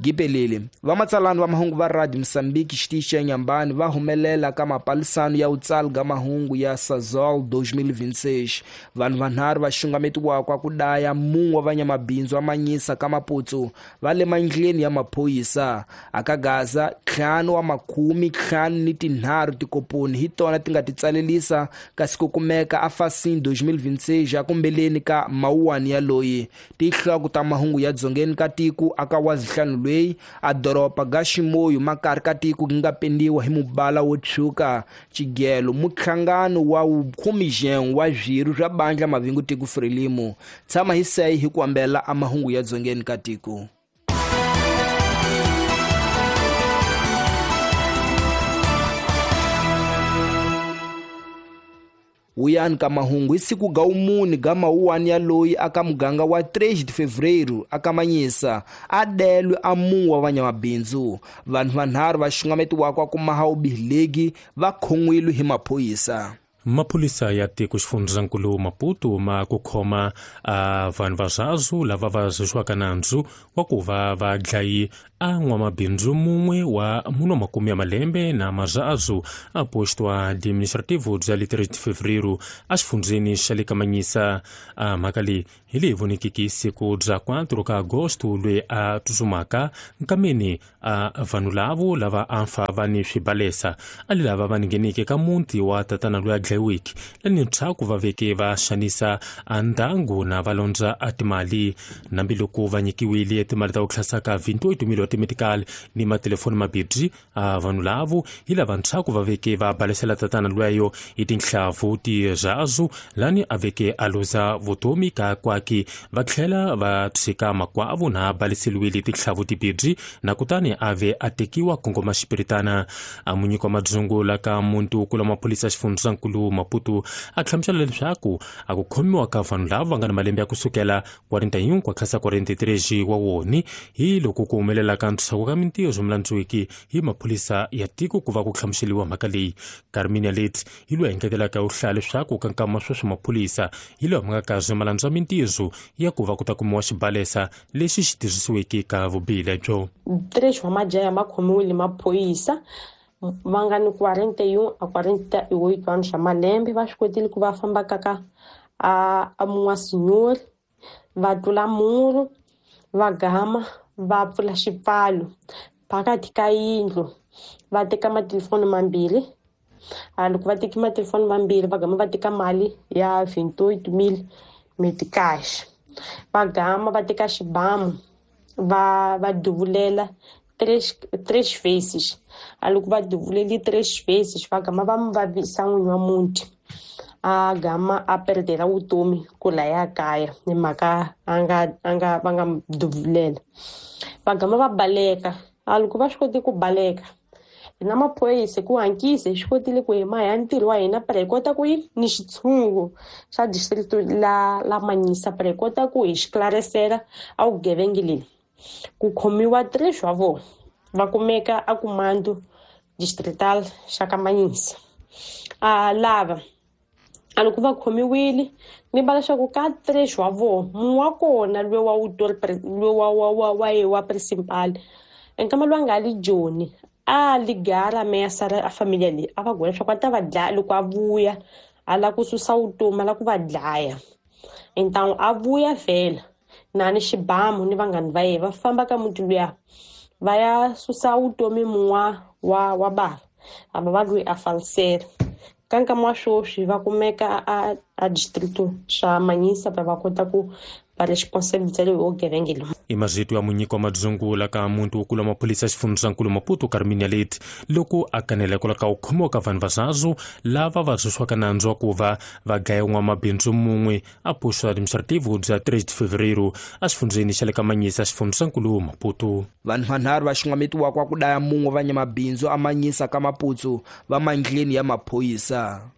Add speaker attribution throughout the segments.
Speaker 1: Gipelele vamatsalani va mahungu va Radio Mozambique xitichi xa Nyambani va humelela ka mapalisano ya utsali ga mahungu ya Sazol 2026. Vanhu vanharhu va xungametiwaka ku daya mun'we wa vanyamabindzu wa Manyisa ka Maputsu va le mandleni ya maphorisa. Aka Gaza 5 wa makhumi 53 tikoponi hi tona ti nga ti tsalelisa kasi ku kumeka a Fasin 2026 akumbeleni ka mawuwani ya loyi. Tihloko ta mahungu ya dzongeni ka tiko aka wazihlanu lweyi a doroba ga Ximoyo makari ka tiko ku nga pendiwa hi mubala wo tshwuka. Xigelo muhlangano wa 11 wa zwiru swa bandla mavingu tiko Frelimo. Tshama hi seyi hi ku ambela a mahungu ya dzongeni ka tiko. Wuyani ka mahungu hi siku ga umuni ga mawuwani ya loyi aka muganga wa 3 de fevereiro aka Manyisa a delwe a mun'we wa vanyamabindzu. Vanhu vanharhu va xungametiwaka ku maha ubihilegi va khon'wile hi maphorisa.
Speaker 2: Maphorisa ya tiko xifundzankulu Maputo ma ku khoma a vanhu va zwazu lava va zuxiwaka nandzu wa ku va va dlayi a n'wamabindzu mun'we wa muno makume ya malembe na mazazu a posto administrativo bya le 3 de fevereiro a xifundzeni xa le ka Manyisa. A mhaka leyi hi leyi vonekiki siku bya 4 ka agosto loyi a tsutsumaka nkameni a vanhu lavo lava a fa va ni swibalesa a li lava va ngheneke ka muti wa tatana loyi a dlayiweke lani ntshaku va veke va xanisa a ndyangu na va londza a timali. Hambiloko va nyikiwile timali ta ku tlhasaka 28 mil wa timedical ni matelefoni mabibyi a vanhu lavo hi lava ntshaku va veke va balesela tatana lweyo hi tinhlavu tirhazu lani a veke a luza vutomi ka kwaki va tlhela va tshika makwavo na baleseliwile tinhlavu tibibyi na kutani a ve a tekiwa kongoma xipiritana. A munyiki wa madzungu la ka muntu kula maphorisa xifundzankulu Maputo a hlamusela leswaku a ku khomiwa ka vanhu lava va nga na malembe ya kusukela 41 ku tlhasa 43 wa woni hi loko ku humelela ka ntshaku ka mintirho swi mulandziwiki hi maphorisa ya tiko ku va ku hlamuseliwa mhaka leyi. Carmina Leti hi loyi a engetelaka u hlaya leswaku ka nkama sweswi maphorisa hi lawa ma nga kazi ma landza mintirho ya ku va ku ta kumiwa xibalesa lexi xi tirhisiweke ka vubihi lebyo.
Speaker 3: 3 wa majaha ma khomiwile maphorisa va nga ni 41 a 48 anos swa malembe va swi kotile ku va famba kaka a mun'wa sinyori va tlula muru va gama va pfula xipfalo phakathi ka yindlu va teka matelefoni mambirhi. A loko va teki matelefoni mambirhi va gama va teka mali ya 28,000 meticash va gama va teka xibamu va duvulela 3 vezes. A loko va duvuleli 3 vezes va gama va mu vavisa n'winyi wa muti a gama a perdela vutomi ku laya kaya hi mhaka a nga va nga duvulela. Va gama va baleka. A loko va swi koti ku baleka hina maphorisa ku hankisa hi swi kotile ku hi maha ntirho wa hina para hi kota ku yi ni xitshungu xa district la Manyisa para hi kota ku hi xiklarisela a vugevenga leyi. Ku khomiwa 3 wa vona va kumeka a kumando distrital xa ka Manyisa. A lava a loko va khomiwile ni va leswaku ka 3 wa vona mun'we wa kona loyi wa loyi wa wa principal nkama loyi a nga li Joni a ligara mesa a familia leyi a va gwela leswaku a ta va dlaya loko a vuya a lava ku susa vutomi a lava ku va dlaya. Então a vuya vhela na ni xibamu ni vanghani va yena va famba ka muti luya va ya susa vutomi mun'wa wa bava a va va loyi a falisela. Ka nkama wa sweswi va kumeka a district xa Manyisa va kota ku va responsibility leyi vugevenga loyi.
Speaker 2: I mazito ya munyiki wa madzungu la ka muntu wo kula maphorisa xifundzankulu Maputo Carmina Leti loko a kanela kwala ka ku khomiwa ka vanhu va zazu lava va zuxiwaka nandzu wa ku va va dlaya n'wamabindzu mun'we a posto administrativo bya 3 de fevereiro a xifundzeni xa le ka Manyisa xifundzankulu Maputo.
Speaker 1: Vanhu vanharhu va xungametiwaka ku daya mun'we va nyamabindzu a Manyisa ka Maputsu va mandleni ya maphorisa.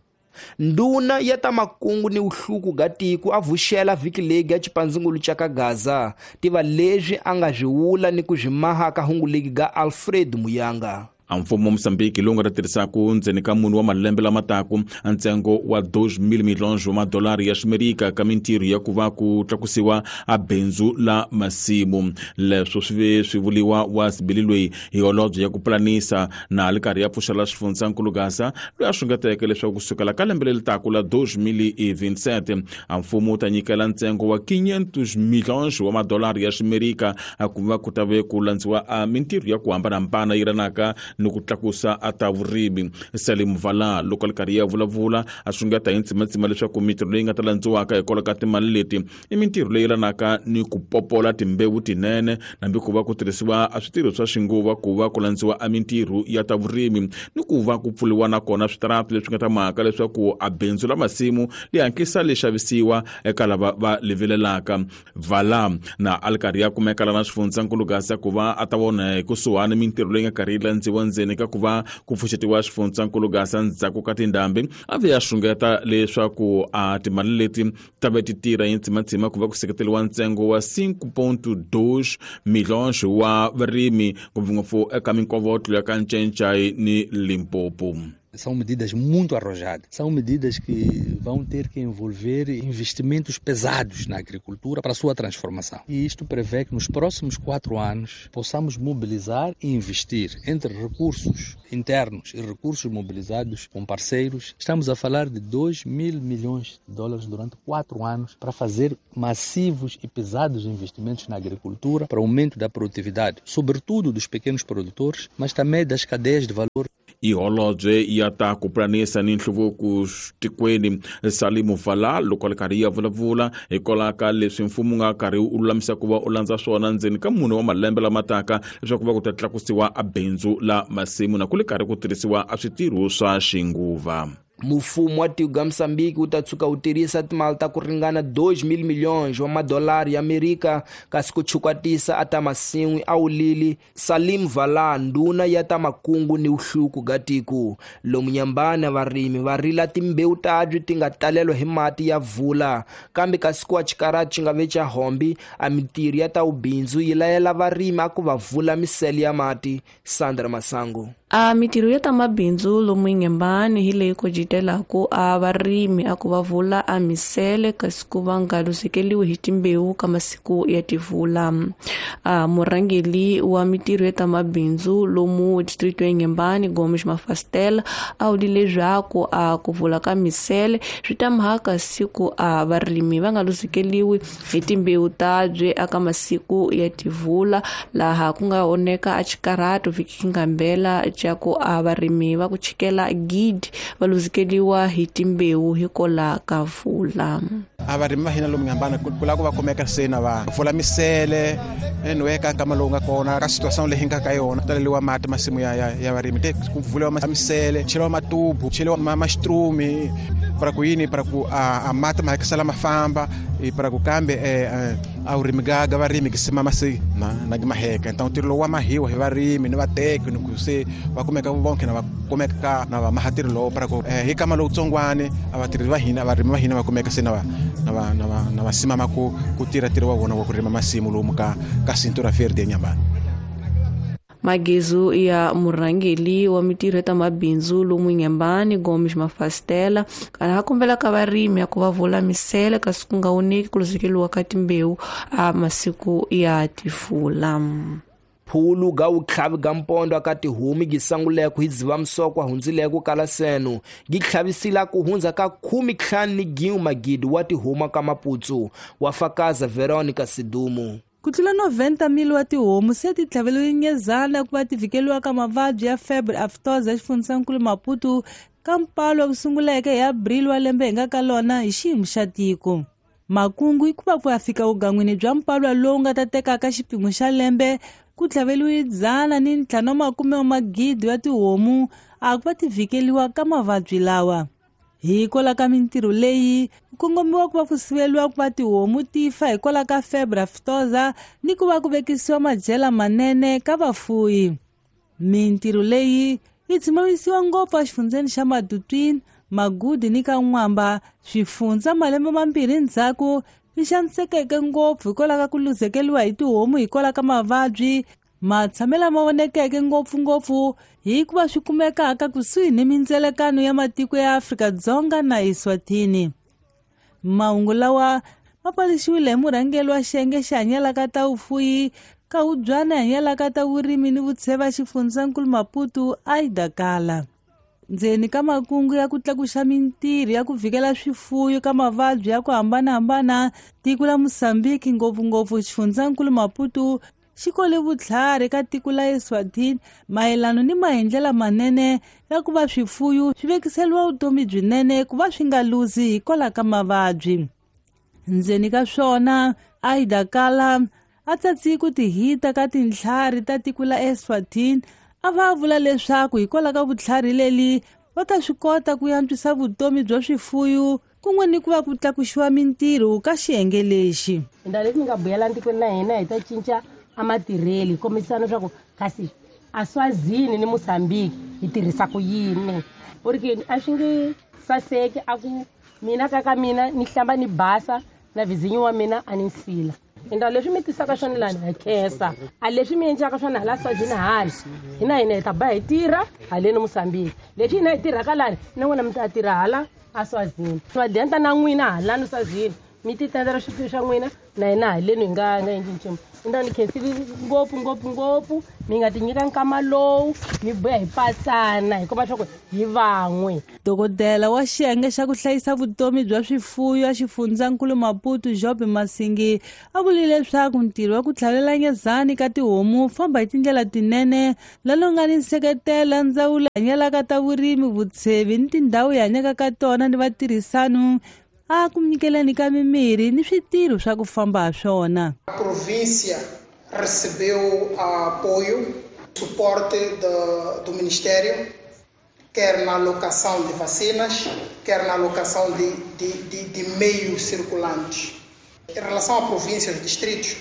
Speaker 1: Nduna ya ta makungu ni uhluku ga tiko a vuxela vhiki leyi ya xipandzungulu xa ka Gaza tiva leswi a nga swi wula ni ku swi maha ka hungu legi ga Alfred Muyanga.
Speaker 4: A mfumo wa Mozambique lowu nga ta tirhisaku ndzeni ka mune wa malembe lama taku ntsengo wa 2,000 milhões wa madolari ya ximerika ka mintirho ya ku va ku tlakusiwa a bindzu la masimu. Leswo swi ve swi vuliwa wa sibili loyi hi holobye ya ku pulanisa na li karhi ya pfuxela xifundzankulu Gaza, loyi a xungeteke leswaku kusukela ka lembe leri taku la 2027 a mfumo wu ta nyikela ntsengo wa 500 milhões wa madolari ya ximerika a ku va ku ta ve ku landziwa a mintirho ya ku hambanahambana yi ranaka ni ku tlakusa a ta vurimi. Salim Vala loko a li karhi ya vulavula a xungeta hi ntsimatsima leswaku mintirho leyi nga ta landziwaka hikwalaho ka timali leti i mintirho leyi yelanaka ni ku popola timbewu tinene, nambi ku va ku tirhisiwa a switirho swa xinguva ku va ku landziwa a mintirho ya ta vurimi, ni ku va ku pfuriwa na kona switarata leswi nga ta mhaka leswaku a bindzu la masimu li hatlisa li xavisiwa eka lava va li vilelaka. Vala na a li karhi ya kumeka lana xifundzankulu Gaza ku va a ta vona hi kusuhani mintirho leyi nga karhi yi landziwa ndzeni ka ku va ku pfuxetiwa xifundzankulu Gaza ndzhaku ka tindhambi. A ve ya xungeta leswaku a timali leti ta ve ti tirha hi ntsimatsima ku va ku seketeriwa ntsengo wa 5.2 milhões wa varimi, ngopfungopfu eka minkovotlo ya ka Ncencai ni Limpopo.
Speaker 5: São medidas muito arrojadas, são medidas que vão ter que envolver investimentos pesados na agricultura para a sua transformação. E isto prevê que nos próximos 4 anos possamos mobilizar e investir entre recursos internos e recursos mobilizados com parceiros. Estamos a falar de 2 mil milhões de dólares durante 4 anos para fazer massivos e pesados investimentos na agricultura para o aumento da produtividade, sobretudo dos pequenos produtores, mas também das cadeias de valor.
Speaker 4: I holobye ya ta ku pulanisa ni nhluvuko tikweni Salimu Vala loko a li karhi ya vulavula hikwalaho ka leswi mfumo wu nga karhi wu lulamisa ku va u landza swona ndzeni ka mune wa malembe lama taka leswaku va ku ta tlakusiwa a bindzu la masimu na ku li karhi ku tirhisiwa a switirho swa xinguva.
Speaker 1: Mufumo wa tiko ga Mosambiki wu ta tshuka wu tirhisa timali ta ku ringana 2,000 milhões wa madolari ya Amerika kasi ku chukwatisa a ta masin'wi a wulili Salim Vala, ndhuna ya ta makungu ni vuhluku ga tiko. Lomu Nyambana varimi va rila timbewu tabyi ti nga talelwa hi mati ya vula, kambe kasi ku wa xikarati xi nga ve xa hombi a mintirho ya ta vubindzu yi layela varimi a ku va vula misele ya mati. Sandra Masango.
Speaker 6: A mintirho ya ta mabindzu lomu Inhambane hi leyi kojitelaku a varimi a ku va vula a misele kasi ku va nga luzekeliwi hi timbewu ka masiku ya tivula. A murhangeli wa mintirho ya ta mabindzu lomu distrito ya Inhambane, Gomes Mafastela, a wuli leswaku a ku vula ka misele swi ta mhaka siku a varimi va nga luzekeliwi hi timbewu tabye aka masiku ya tivula, laha ku nga oneka a xikarhato vhiki ngambela xa ku a varimi va ku chikela gidi va luzekeliwa hi timbewu hikola ka vula.
Speaker 7: A varimi va hina lomu Inhambane ku lava ku va kumeka se na va pfula misele anyway ka nkama lowu nga kona ka situation leyi nga ka yona taleliwa mati masimu ya varimi te ku vuliwa misele, cheliwa matubu, cheliwa maxitrumi para ku yini, para ku a mati ma hakisela ma famba e para ku kambe a vurimi ga varimi ki sima masi na na maheka. Então ntirho lowu wa mahiwa hi varimi ni vateki ni ku se va kumeka vonke na va kumeka ka na va maha ntirho lowu para ku hi kama lowutsongwani a vatirhi va hina varimi va hina va kumeka se na va simama ku tirha ntirho wa vona wa ku rima masimu lomu ka Cintura Verde eNyambani.
Speaker 6: Magezu ya murhangeli wa mintirho ya ta mabindzu lomu Inhambane, Gomes Mafastela, kana a kombela ka varimi ya ku va vula misele kasi ku nga oneki ku luzekeliwa ka timbewu a masiku ya tifula.
Speaker 1: Phulu ga vutlhavi ga mpondo aka tihomu gi sanguleko hi Dzivamisoko hundzileko kala seno gi tlhavisila ku hundza ka 51 magidi wa tihomu ka Maputsu, wa fakaza Veronica Sidumo.
Speaker 8: Ku tlula 90,000 wa tihomu se ti tlhaveliwe nyezana ku va ti vhikeliwa ka mavabyi ya febre aftosa exifundzhankulu Maputo ka mpalo ku sunguleke hi Abril wa lembe hi nga ka lona hi xiyimo xa tiko. Makungu i ku va ku ya fika vugan'wini bya mpalwa lowu nga ta tekaka xipimo xa lembe ku tlhaveliwe 150 wa magidi wa tihomu a ku va ti vhikeliwa ka mavabyi lawa. Hikwalaho ka mintirho leyi ku kongomiwa ku va ku siveliwa ku va tihomu ti fa hikwalaho ka febre aftosa ni ku va ku vekisiwa madyela manene ka vafuyi. Mintirho leyi yi tshimamisiwa ngopfu exifundzheni xa Matutuine, Magudi ni ka N'wamba, swifundza malembe mambirhi ndzhaku swi xanisekeke ngopfu hikwalaho ka ku luzekeriwa hi tihomu hikwalaho ka mavabyi. Matshamelo ma vonekeke ngopfungopfu hikuva swi kumekaka kusuhi ni mindzelekano ya matiko ya Afrika-Dzonga na Eswatini. Mahungu lawa ma paluxiwile hi murhangeri wa xiyenge xi hanyelaka ta vufuwi ka hubyana hanyelaka ta vurimi ni vutsheva xifundzankulu Maputo Aida Kala. Ndzeni ka makungu ya ku tlakuxa mintirho ya ku vikela swifuyo ka mavabyi ya ku hambanahambana, tiko la Mozambique ngopfungopfu xifundzankulu Maputo xi kole vutlhari ka tiko la Eswatini mayelana ni maendlelo manene ya ku va swifuyo swi vekiseliwa vutomi byinene ku va swi nga luzi hikwalaho ka mavabyi. Ndzeni ka swona Aida Kala a tsatsi ku tihita ka tintlhari ta tiko la Eswatini a va vula leswaku hikwalaho ka vutlhari leli va ta swi kota ku antswisa vutomi bya swifuyo kun'we ni ku va ku tlakuxiwa mintirho ka xiyenge lexi.
Speaker 9: Ndhawu leti mi nga buyela ntikweni la hina hi ta cinca a matirheli hi kombisana leswaku kasi a Swazini ni Mozambique hi tirhisa ku yini. U ri ke a swi nge saseki a ku mina kaka mina ni hlamba ni basa na vizinyo wa mina a ni nsila. Ndhawu leswi mi tisaka swona lani hi khensa, a leswi mi endlaka swona hala Swazini hala hina hina hi ta ba hi tirha haleni Mozambique, leswi hina hi tirhaka lani na n'wina mi ta tirha hala a Swazini, va na n'wina halani Swazini mi ti tendela swifuwo swa n'wina na hina haleni hi nga endli nchumu. Ndhawu ni khensile ngopfu ngopfu ngopfu mi nga ti nyika nkama lowu mi boya hi patsana hi komba leswaku hi van'we.
Speaker 8: Dokodela wa xiyenge xa ku hlayisa vutomi bya swifuyo ya xifundzankulu Maputo Job Masingi a vule leswaku ntirho wa ku tlhavela nyezani ka tihomu famba hi tindlela tinene lalo nga ni nseketelo ndzawulo hanyelaka ta vurimi vutshevi ni tindhawu hi hanyaka ka tona ni vatirhisano a ku nyikeleni ka mimirhi ni switirho swa ku famba ha swona.
Speaker 10: A província recebeu apoio, suporte do Ministério, quer na alocação de vacinas, quer na alocação de meios circulantes. Em relação à província e aos distritos,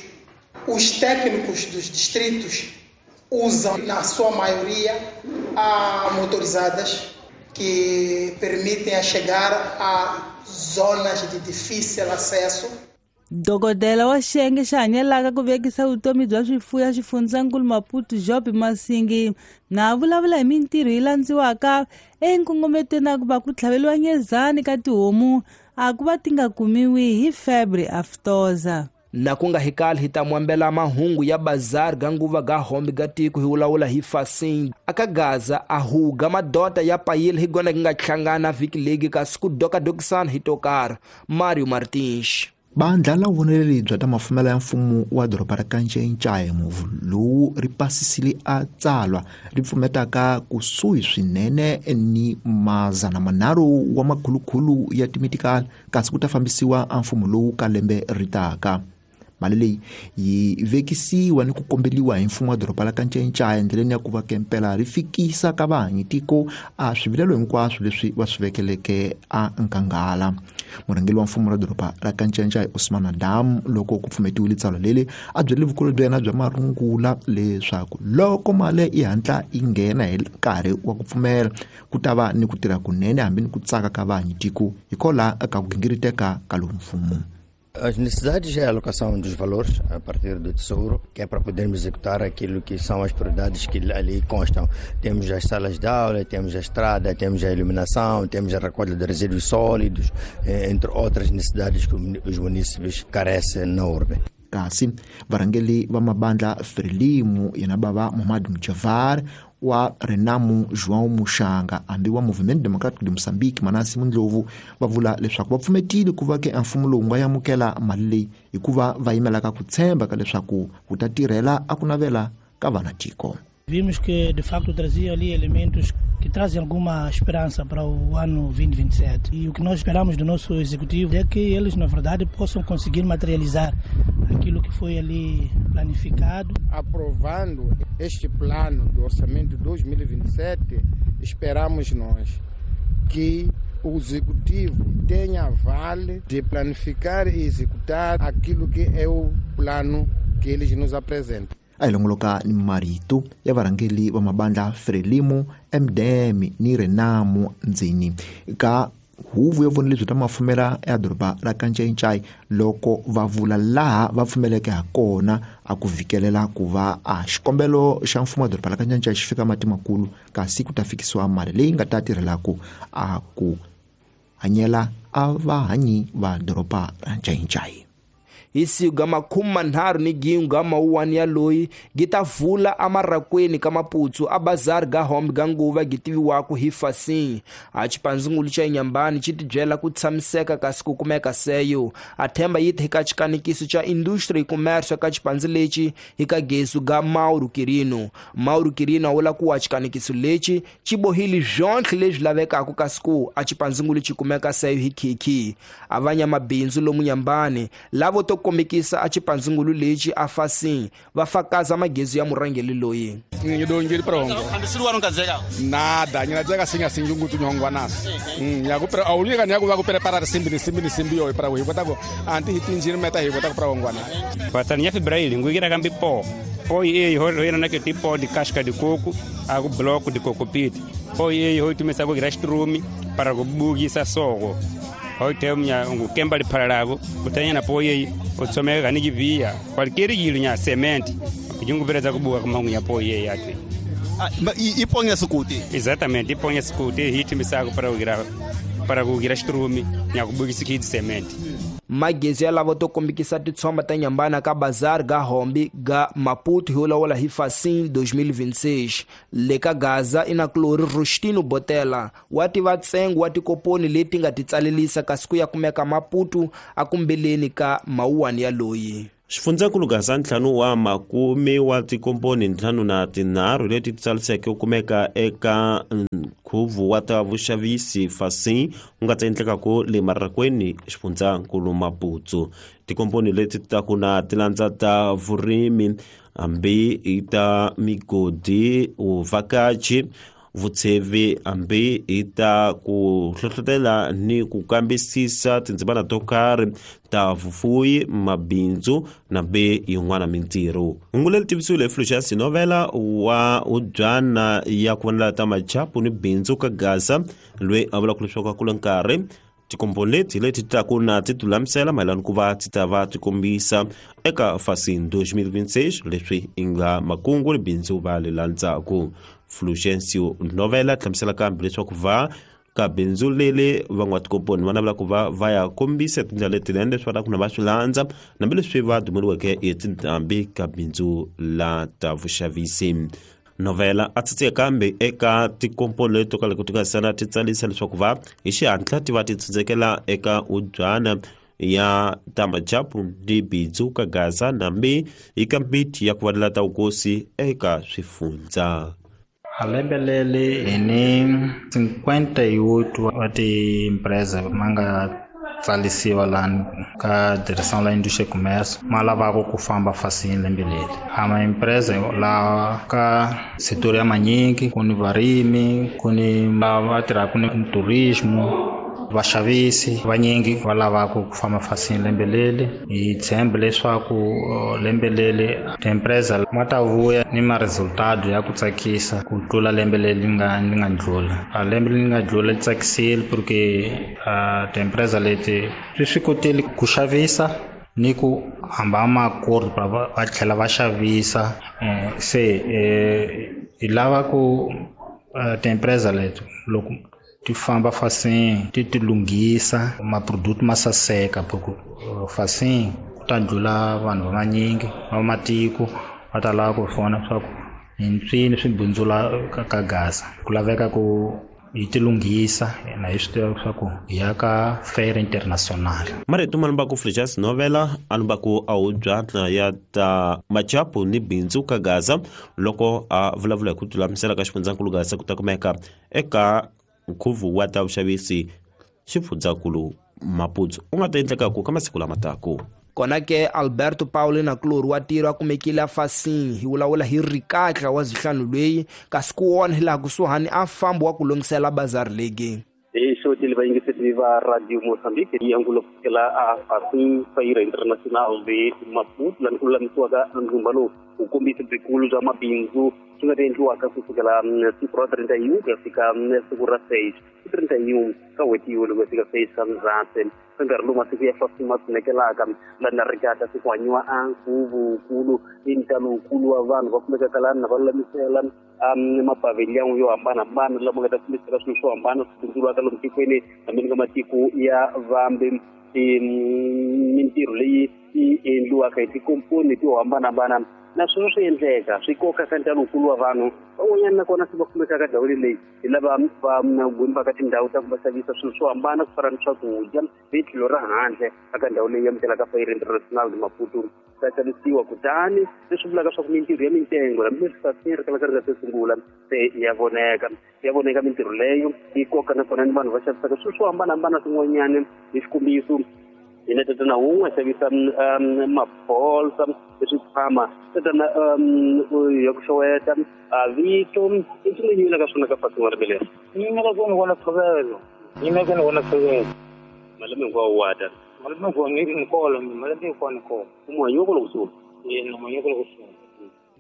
Speaker 10: os técnicos dos distritos usam, na sua maioria, a motorizadas que permitem a chegar a zonas de difícil acesso.
Speaker 8: Dokodela wa xiyenge xa hanyelaka ku vekisa vutomi bya swifuwo ya xifundzankulu Maputo Job Masingi na vulavula hi mintirho yi landziwaka enkongometweni ya ku va ku tlhaveliwa nyezani ka tihomu a ku va ti nga kumiwi hi febre aftosa.
Speaker 1: Na ku nga hikali hi ta mwambela mahungu ya bazar ga nguva ga hombe ga tiko hi wulawula hi fasing aka Gaza a huga madota ya payile hi gona nga hlangana vhiki legi kasi ku dokadokisana hi tokara. Mario Martins.
Speaker 11: Bandla la vuvoneleri bya ta mafumelo ya mfumo wa doroba ra Kanchenchaye muvu lowu ri pasisile a tsalwa ri pfumetaka kusuhi swinene ni 300 wa makhulukhulu ya timitikali kasi ku ta fambisiwa a mfumo lowu ka lembe ri taka. Mali leyi yi vekisiwa ni ku kombeliwa hi mfumo wa doroba la Kanchenchaye endleleni ya ku va kempela ri fikisa ka vahanyi tiko a swivilelo hinkwaswo leswi va swi vekeleke a nkanghala. Murhangeri wa mfumo ra doroba ra Kanchenchaye Osman Adam loko ku pfumetiwile tsalwa leli a byele vukulu bya yena bya marungula leswaku loko mali yi hatla yi nghena hi nkarhi wa ku pfumela ku ta va ni ku tirha kunene hambi ni ku tsaka ka vahanyi tiko hikwalaho ka ku gingiriteka ka lowu mfumo.
Speaker 12: As necessidades é a alocação dos valores a partir do Tesouro, que é para podermos executar aquilo que são as prioridades que ali constam. Temos as salas de aula, temos a estrada, temos a iluminação, temos a recolha de resíduos sólidos, entre outras necessidades que os munícipes carecem na urbe.
Speaker 11: Kasi varhangeri va mabandla Frelimo yena bava Mohamed Mujavar wa Renamo João Muxanga hambi wa Movimento Democrático de Moçambique Manasi Mundlovu va vula leswaku va pfumetile ku va ke mfumo lowu nga amukela mali leyi hikuva va yimelaka ku tshemba ka leswaku wu ta tirhela a ku navela ka vana tiko.
Speaker 13: Vimos que de facto trazia ali elementos que trazem alguma esperança para o ano 2027. E o que nós esperamos do nosso executivo é que eles, na verdade, possam conseguir materializar aquilo que foi ali planificado.
Speaker 14: Aprovando este plano do orçamento 2027, esperamos nós que o executivo tenha vale de planificar e executar aquilo que é o plano que eles nos apresentam.
Speaker 11: A hi longoloka ni marito ya varhangeri va mabandla Frelimo, MDM ni Renamo ndzeni ka Huvo ya vunelebyi ta mafumela ya doroba ra Kanchenchai loko va vula laha va pfumeleke ha kona a ku vikelela ku va a xikombelo xa mfumo wa doroba ra Kanchenchai xi fika mati makulu, kasi ku ta fikisiwa mali leyi nga ta tirhelaku a ku hanyela a vahanyi va doroba ra Ncayincai.
Speaker 1: Hi siku ga 31 ga mawuwani ya loyi gi ta vula amarakweni ka Maputsu a bazari ga hombe ga nguva gi tiviwaka hi Fasin. A xipandzingulu xa Inhambane xi tibyela ku tshamiseka kasi ku kumeka seyo. A themba yi eka xikanekiso xa industry e commerce ka xipandzi lexi hi ka gesu ga Mauro Quirino. Mauro Quirino a vula ku a xikanekiso lexi xi bohile swonhle leswi lavekaka kasi ku a xipandzingulu xi kumeka seyo hi khikhi. A vanyamabindzu lomu Inhambane lavo to kombekisa a xipandzingulu lexi a Fasin va fakaza magezu ya murhangeri loyi.
Speaker 7: Nada, nyinadzeka singa sinjungu tunyongwa naso. Nyaku aulika nyaku va ku prepara simbi ni simbi ni simbi yo para hi kota ku anti hi tinjini meta hi kota ku para ngwana.
Speaker 15: Patani ya febraili ngugira kambi po. Po e ho ina na ke tipo de casca de coco, a ku bloco de coco pit. Po e ho tumesa ku grastrumi para ku bugisa sogo. Hote mnya ngukemba liphalalago kutanya na poye otsomeka ni kivia qualquer yilo nya cement kujungubereza kubuka kumangu ya poye yatwe
Speaker 16: iponya sukuti.
Speaker 15: Exatamente, iponya sukuti hitimisako para kugira strumi nya kubukisa kidi cement.
Speaker 1: Magezi ya lavo to kombekisa titshomba ta Inhambane ka bazar ga hombe ga Maputo hi lawula hi Fasin 2026. Le ka Gaza ina Clori Rustino Botela wa tiva ntsengo wa tikoponi leti nga ti tsalelisa kasi ku ya kumeka Maputo a kumbeleni ka mawuwani ya loyi.
Speaker 17: Xifundzankulu Gaza 5 wa makume wa tikomponi 53 leti titsaliseke ku kumeka eka nkhuvo wa ta vuxavisi Fasin wu nga ta endlekaka le Marakweni xifundzankulu Maputo. Tikomponi leti ta ku na tilandza ta vurimi hambi i ta migodi, vuvhakachi, vutshevi hambi i ta ku hlohlotela ni ku kambisisa tindzimana to karhi ta vufuwi, mabindzu nambe yin'wana mintirho. Hungu leri tivisiwile hi Fulgence Novela wa ubyana ya ku vonela ta machapu ni bindzu ka Gaza loyi a vulaka leswaku a kula nkarhi tikomponi leti leti taku na ti tilulamisela mayelana ku va ti ta va ti kombisa eka Fasin 2026 leswi i nga makungu ni bindzu va le landzaku. Fulgencio Novela hlamusela kambe leswaku va ka bindzu leli van'watikomponi va navela ku va va ya kombisa tindlela letinene leswi va ku na va swi landza hambileswi va dumeriweke hi tindhambi ka bindzu la ta vuxavisi. Novela a tsitse kambe eka tikomponi leti to ka loko ti nga sana ti tsalisa leswaku va hi xihatla ti va ti tsundzekela eka ubyana ya ta machapu ni bindzu ka Gaza nambi eka mbiti ya ku vanela ta vukosi eka swifundza.
Speaker 18: A lembe leri hi ni 58 wa ti-empresa ma nga tsalisiwa lani ka Direção la Indústria e Comércio ma lavaka ku famba Fasin lembe leri. A ma-empresa lawa ka setor ya manyingi ku ni varimi, ku ni lava tirhaka ni turismo, vaxavisi vanyingi va lavaka ku famba Fasin lembe leri. Hi tshemba leswaku lembe leri ti-empresa ma ta vuya ni ma resultado ya ku tsakisa ku tlula lembe leri nga ndlula. A lembe leri nga ndlula li tsakisile porque ti-empresa leti swi swi kotile ku xavisa ni ku hamba makordo va tlhela va xavisa. Se hi lava ku ti-empresa leti loko ti famba Fasin ti ti lunghisa maproduct ma saseka porque Fasin ku ta ndlula vanhu va manyingi va matiko va ta lava ku vona leswaku hi mpfini swi bindzula ka Gaza. Ku laveka ku hi ti lunghisa na hi swi tiva leswaku hi ya ka fair international.
Speaker 17: Marito ma lumbaku Fulgence Novela a lumbaku a hubyana ya ta machapu ni bindzu ka Gaza loko a vulavula hi ku tilulamisela ka xifundzankulu Gaza ku ta kumeka eka nkhuvo wa ta vuxavisi xifundzankulu Maputo u nga ta endlekaku ka masiku lama taku.
Speaker 1: Kona ke Alberto Paulo na Clori wa tiro a kumekile a Fasin hi vulavula hi rikatla wa zihlanu loyi kasi ku wona hilaha kusuhani a fambi wa ku lunghisela bazari legi.
Speaker 19: Hi xotile vayingiseri va Radio Mozambique yi angulo kusukela a Fasin Feira Internacional de Maputo lani ku lulamisiwaka ndzumba lowu Vukombisi byikulu bya mabindzu swi nga ta endliwaka kusukela siku ra 31 ku ya fika siku ra 6 31 ka n'hweti yo loko ya fika 6 ka Ndzhati. Ka nkarhi lowu masiku ya fasi ma tsunekelaka lani Ricata se ku hanyiwa a nkhuvo-wukulu i ntalo wukulu wa vanhu va kumekaka lani na va lulamisela mapavhiliyani yo hambanahambana lama nga ta kumisaka swilo swo hambana swi bindzuriwaka lomu tikweni hambi ka matiko ya vambe. Mintirho leyi yi endliwaka hi tikomponi to hambanahambana na swona swi endleka swi koka ka ntalo wukulu wa vanhu van'wanyana nakona se va kumekaka ndhawini leyi hi lava va gumbaka tindhawu ta ku va xavisa swilo swo hambana ku fana ni swakudya hi tlhelo ra handle eka ndhawu leyi amukelaka Feira Internacional de Maputo ta xavisiwa. Kutani leswi vulaka swa ku mintirho ya mitengo hambileswi sasi ri kalaka ri nga se sungula se ya voneka mintirho leyo yi koka nakona ni vanhu va xavisaka swilo swo hambanahambana swin'wanyana. Hi xikombiso hina tatana wun'we xavisa mabolsa eswikhwama tatana ya ku xeweta vito i swi leyi yimela ka swona ka fasi n'wana lembe leri
Speaker 20: yimela ku ni vona tshovelo yimela ku ni vona tshovelo
Speaker 19: malembe hinkwawo wa ta
Speaker 20: malembe hinkwawo ni kolo malembe hinkwawo ni kolo
Speaker 19: muhanyoko loko sungula
Speaker 20: yena muhanyoko loko sungula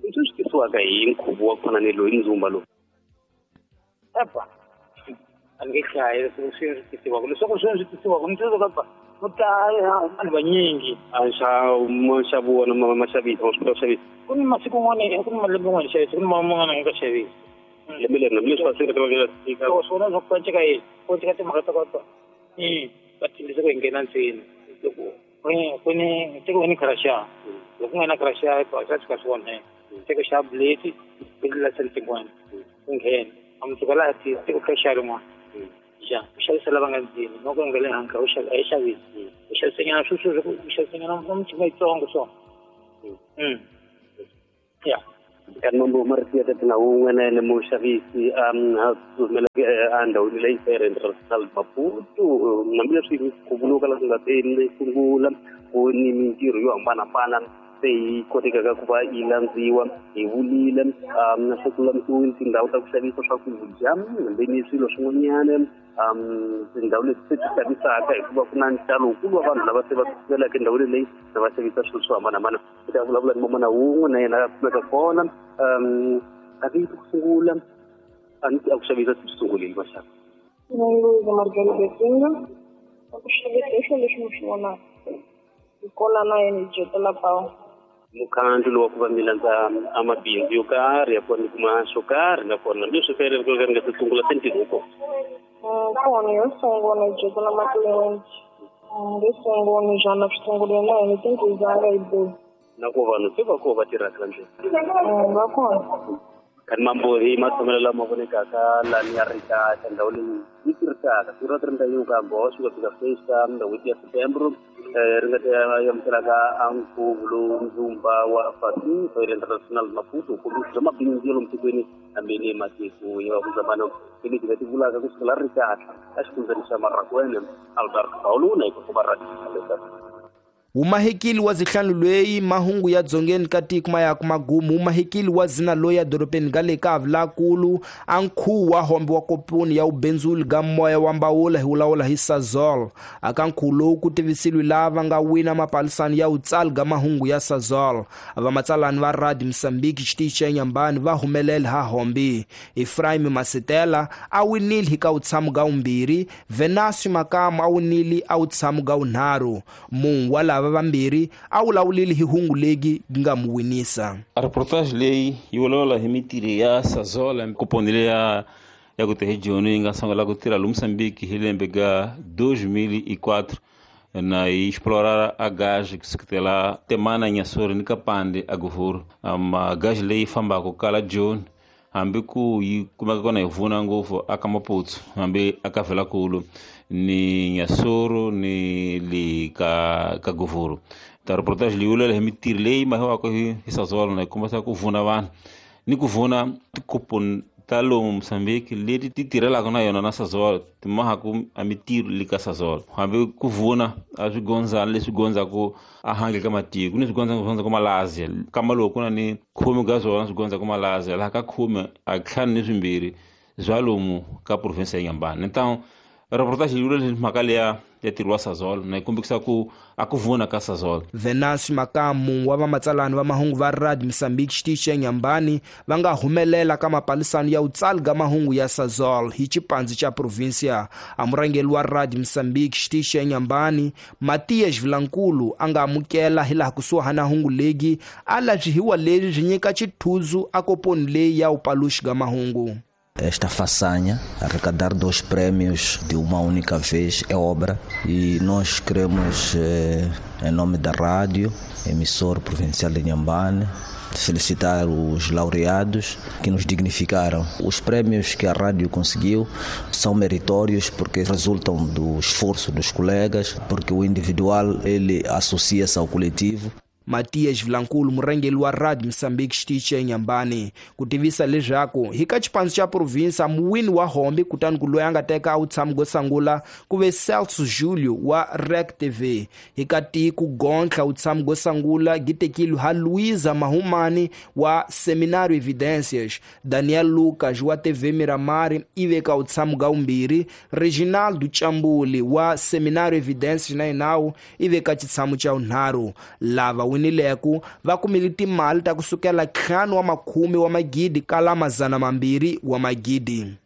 Speaker 19: leswi swi tisiwaka hi nkhuvo wa ku fana ni loyi ndzumba lowu
Speaker 20: epa a ni nge hlayi leswi swi tisiwaka leswaku swi tisiwaka ni tsundzuka pa vanhu vanyingi
Speaker 19: nxavo wona maxavisa wa swi kota ku xavisa
Speaker 20: ku ni masiku n'wana ku ni malembe n'wana xavisa ku ni man'wana nga xavisa
Speaker 19: lembe leri hambileswi va swi tika
Speaker 20: swona swa ku panceka yini panceka timhaka ta kota va tshembisa ku hi nghena ntsena loko ku ni teko ni kharaxa loko ku nga na kharaxa swa tshika swi onheka teko xa buleti ku tlula sentin'wana ku nghena a mundzuku laha teko kha xa rin'wana ja u xavisa lava nga ndzeni no ku nga le handle u xavisa a yi xavisi u xavisanyana sweswo u xavisanyana na michini yitsongo so ya
Speaker 19: kanti mambo marito ya tatana wun'we na yena muxavisi a humeleke endhawini leyi Feira Internacional Maputo hambileswi ku vuriwaka la ku nga te sungula ku ni mintirho yo hambanahambana se yi kotekaka ku va yi landziwa hi vulile se ku lulamisiwile tindhawu ta ku xavisa swakudya hambi ni swilo swin'wanyana tindhawu leti se ti xavisaka hikuva ku na ntalo wukulu wa vanhu lava se va tsumelaka endhawini leyi na va xavisa swilo swo hambanahambana. Ku ta vulavula ni mamana wun'we na yena a kumeka kona a vito ku sungula a ni a ku xavisa swi sungulile maxaka.
Speaker 21: A ku xavisa hi swilo leswi mi swi vonaka hi kona na yena hi dyetela pawu.
Speaker 19: Mukhandlu lowu wa ku va mi landza a mabindzu yo karhi ya ku va mi kuma xo karhi nakona hambileswi fere ri nga se sungula se ntirho wu kona.
Speaker 21: Kona yo sungula hi dyetela matliliniki yo sungula njhani swi sungulile na hina tinghizanga hi bohi.
Speaker 19: Na ku vanhu se va koho va tirhaka la ndlela
Speaker 21: va kona.
Speaker 19: Kanti mambo hi matshamelo lama vonekaka lani ya Ricata ndhawu leyi yi tirhisaka siku ra 31 ka Agosto ku fika 6 ka n'hweti ya Setembro ri nga ta amukelaka a nkhuvo lowu ndzumba wa Fasi Feira Internacional Maputo kombisa bya mabindzu ya lomu tikweni hambi ni matiko ya vuzambano leti nga ti vulaka kusukela Ricata a xifundzeni xa Marracuene Alberto Paulo na ikuva radio.
Speaker 1: Umahekili wa zihlanu lweyi mahungu ya dzongeni ka tiko mayaku magumu umahekili wa zina loyi dorobeni ga le ka Avlakulu a nkhuvo wa hombe wa kopuni ya ubenzuli ga moya wa mbawula hi wulawula hi Sasol aka nkhuvo lowu ku tivisiliwe lava nga wina mapalisani ya utsali ga mahungu ya Sasol vamatsalani va Radio Mozambique xitichi xa Nyambani va humelela ha hombe Ephraim Masitela a winile hi ka utshamo ga umbirhi Venasio Makamu a winile a utshamo ga unharhu munhu wa lava vambirhi a wulawulile hi hungu legi nga mu winisa.
Speaker 22: A reportage leyi yi vulavula hi mintirho ya Sasol kuponi leya ya ku hi Joni yi nga sungula ku tirha lomu Mozambique hi lembe ga 2004 na yi explorar a gás kusukela Temana Inhassoro ni Kapande a Govuro gás leyi fambaka kala Joni hambi ku yi kumeka kona hi vuna ngopfu aka Maputo hambi aka Velakulu ni Inhassoro ni le ka Govuro. Ta reportage leyi vulavula hi mintirho leyi mahiwaka hi Sasol na yi kombisa ku vuna vanhu ni ku vuna tikoponi ta lomu Mozambique leti ti tirhelaka na yona na Sasol ti mahaku a mintirho le ka Sasol hambi ku vuna a swigondzana leswi gondzaku a handle ka matiko ni swigondzaka Malaysia kamba loko ku na ni khume ka swona swi gondzaku Malaysia laha ka khume a ntlhanu ni swimbirhi bya lomu ka province ya Inhambane. Então Reportage yi vula mhaka leya ya ntirho wa Sasol na yi kombisa ku a ku vona ka Sasol.
Speaker 1: Venancio Makamu wa vamatsalani va mahungu va Radio Mozambique xitichi xa Inhambane va nga humelela ka mapalisano ya vutsali ga mahungu ya Sasol hi xipandzi xa provincia. A murhangeri wa Radio Mozambique xitichi xa Inhambane Matias Vilankulu a nga amukela hilaha kusuhana hungu legi a lavyihiwa leswi byi nyika xithuzu a koponi leyi ya upaluxi ga mahungu.
Speaker 2: Esta façanha, arrecadar 2 prêmios de uma única vez, é obra e nós queremos, em nome da rádio, emissor provincial de Inhambane, felicitar os laureados que nos dignificaram. Os prêmios que a rádio conseguiu são meritórios porque resultam do esforço dos colegas, porque o individual ele associa-se ao coletivo.
Speaker 1: Matias Vilankulu murhangeri wa Radio Mozambique xitichi xa Inhambane ku tivisa leswaku hi ka xipandzu xa provinsa muwini wa hombi kutani ku loyi a nga teka a wu tshami go sungula ku ve Celso Julio wa Rec TV. Hi ka tiko gontlha wu tshami go sungula gitekile ha Luisa Mahumani wa Seminário Evidências, Daniel Lucas wa TV Miramar i veka wu tshami ga vumbirhi, Reginaldo Chambuli wa Seminário Evidências na Inawu i veka xitshamu xa vunharhu. Lava winileku va kumile timali ta kusukela 5 wa makhume wa magidi kala 200 wa magidi.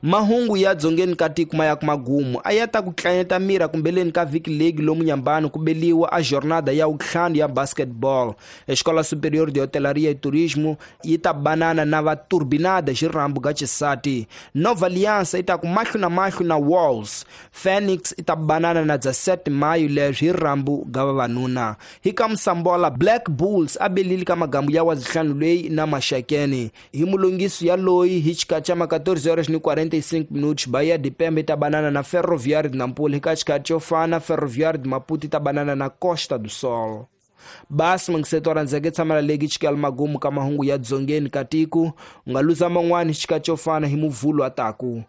Speaker 1: Mahungu ya dzongeni ka tiko ma ya ku magumu a ya ta ku tlanyeta mira kumbeleni ka vhiki league lomu Inhambane ku beliwa a jornada ya vutlhanu ya basketball. Escola Superior de Hotelaria e Turismo yi ta banana na va Turbinada xirambu ga xisati. Nova Aliança yi ta ku mahlo na mahlo na Wolves. Phoenix yi ta banana na 17 maio leswi hi rambu ga vavanuna. Hi ka Msambola Black Bulls a belile ka magambu ya wazihlanu leyi na Maxakeni. Hi mulungiso ya loyi hi xikatsa ma 14h45 Bahia de Pemba ita banana na Ferroviário de Nampula, hi xikatsa xo fana Ferroviário de Maputo ita banana na Costa do Sol. Basi mangiseto randzeke tshamela legi xikela magumu ka mahungu ya dzongeni ka tiko u nga luza man'wani xikatsa xo fana hi muvhulu ataku.